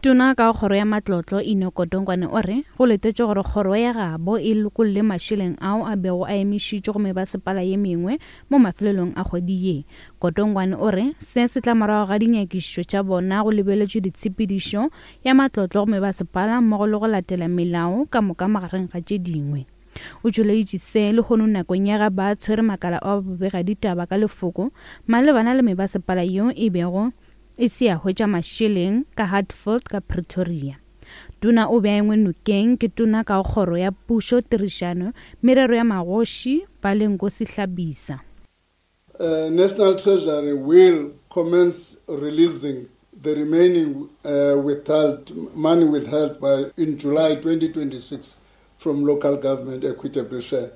Tona ka kgoro ya matlotlo Enoch Godongwana o re go letetše gore kgoro ya gabo e lokolle mašeleng ao a bego a emišitšwe go mebasepala ye mengwe mo mafelelong a kgwedi ye. Godongwana o re se se tla morago ga dinyakišišo tša bona go lebeletšwe ditshepedišo ya matlotlo go mebasepala mmogo le go latela melao ka moka magareng ga tše dingwe. O tšweleditše se lehono nakong ya ga ba tshwere makala a bobega ditaba ka lefoko malebana le mebasepala yeo e bego e se ya hwetša mašeleng ka Hatfield ka Pretoria. Tona o be a engwe nokeng ke tona ka kgoro ya pušo tirišano merero ya magoši Balenkosi Hlabisa. Uh, National Treasury will commence releasing the remaining uh, withheld money withheld by in July twenty twenty-six from local government equitable share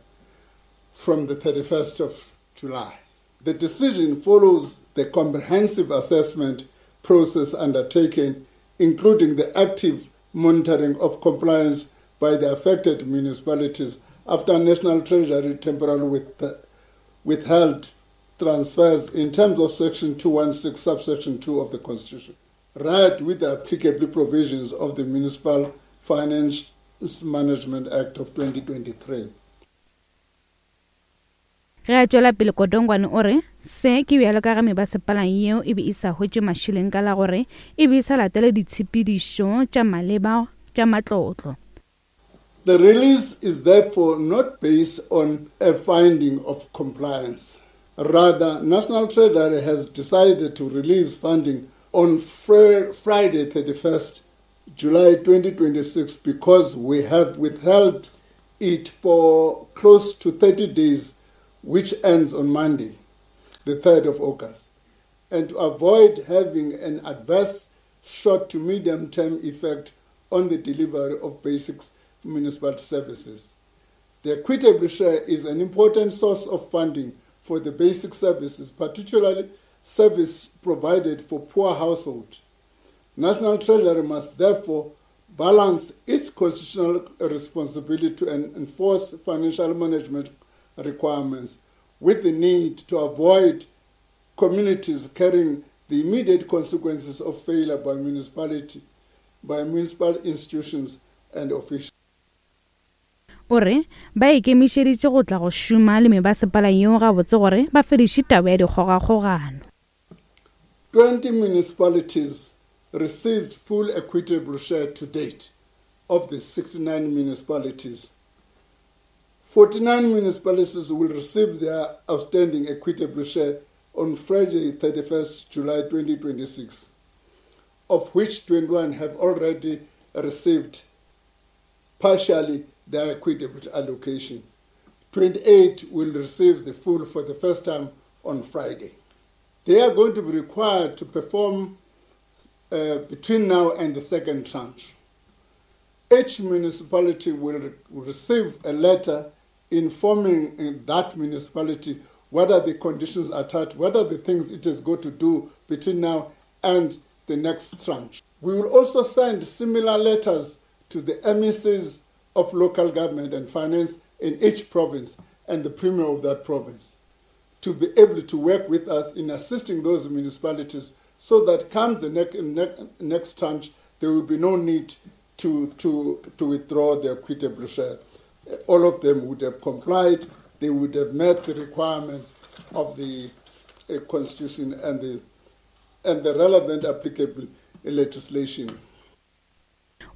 from the thirty-first of July. The decision follows the comprehensive assessment process undertaken, including the active monitoring of compliance by the affected municipalities after National Treasury temporarily with, withheld transfers in terms of Section two one six, subsection two of the Constitution, right with the applicable provisions of the Municipal Finance Management Act of twenty twenty-three. Ge a tšwela pele Godongwana o re se ke bjalo ka ge mebasepala yeo e be e sa hwetše mašeleng ka la gore e be e sa latele ditshepedišo tša maleba tša matlotlo. The release is therefore not based on a finding of compliance. Rather, National Treasury has decided to release funding on Friday thirty-first July twenty twenty-six because we have withheld it for close to thirty days, which ends on Monday, the third of August, and to avoid having an adverse short to medium term effect on the delivery of basic municipal services. The equitable share is an important source of funding for the basic services, particularly service provided for poor households. National Treasury must therefore balance its constitutional responsibility to enforce financial management requirements with the need to avoid communities carrying the immediate consequences of failure by municipality by municipal institutions and officials. O re ba ikemišeditše go tla go šoma le mebasepala yeo gabotse gore ba fediše taba ya dikgogakgogano. twenty municipalities received full equitable share to date of the sixty-nine municipalities. forty-nine municipalities will receive their outstanding equitable share on Friday, thirty-first July twenty twenty-six, of which twenty-one have already received partially their equitable allocation. twenty-eight will receive the full for the first time on Friday. They are going to be required to perform, uh, between now and the second tranche. Each municipality will re- receive a letter informing that municipality what are the conditions attached, what are the things it is going to do between now and the next tranche. We will also send similar letters to the M E Cs of local government and finance in each province and the premier of that province to be able to work with us in assisting those municipalities so that comes the ne- ne- next tranche, there will be no need to, to, to withdraw their equitable share. All of them would have complied, they would have met the requirements of the, uh, Constitution and the, and the relevant applicable legislation.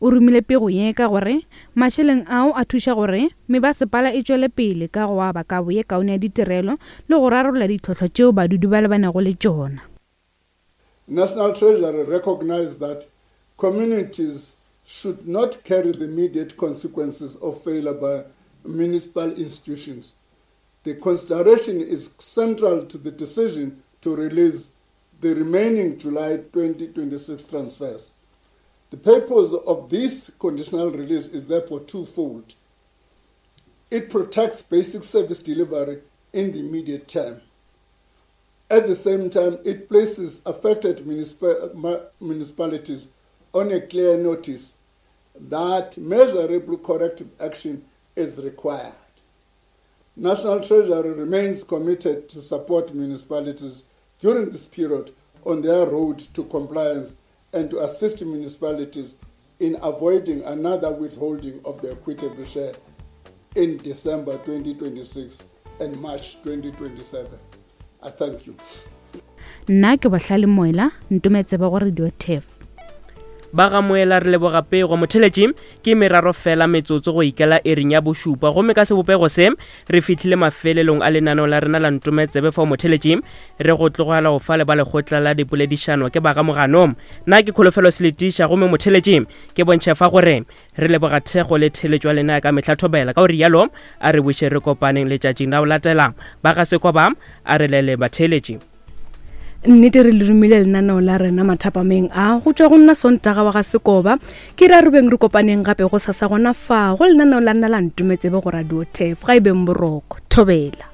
O romile pego ye ka gore mašeleng ao a thuša gore mebasepala e tšwele pele ka go aba kabo ye kaone ya ditirelo le go rarolla ditlhohlo tšeo badudi ba lebanego le tšona. National Treasury recognized that communities should not carry the immediate consequences of failure by municipal institutions. The consideration is central to the decision to release the remaining July twenty twenty-six transfers. The purpose of this conditional release is therefore twofold. It protects basic service delivery in the immediate term. At the same time, it places affected municipal, municipalities on a clear notice that measurable corrective action is required. National Treasury remains committed to support municipalities during this period on their road to compliance and to assist municipalities in avoiding another withholding of the equitable share in December twenty twenty-six and March twenty twenty-seven. I thank you. Nna ke Bohlale Moela, ntometsebe go Radio Turf. Ba ga Moela re leboga pego motheletši ke meraro fela metsotso go ikela ering ya bošupa gomme ka sebopego se re fihlile mafelelong a lenaneo la rena la ntometsebe fa motheletši re go tlogela go fa le ba lekgotla la dipoledišano ke ba ga Moganong. Nna ke Kholofelo Seletiša gomme motheletši ke bontšha fa gore re leboga thekgo le theletšo ya lena ka mehla thobela ka gore yalo a re buše re kopaneng letšatšing la go latela. Ba ga Sekoba a re lele batheletši. Nnete re le romile lenaneo la rena mathapameng a go tšwa go nna Sontaga wa ga Sekoba ke re a re beng re kopaneng gape go sasa gona fa go lenaneo la nna la ntometsebe go Radio Turf ga e beng boroko thobela.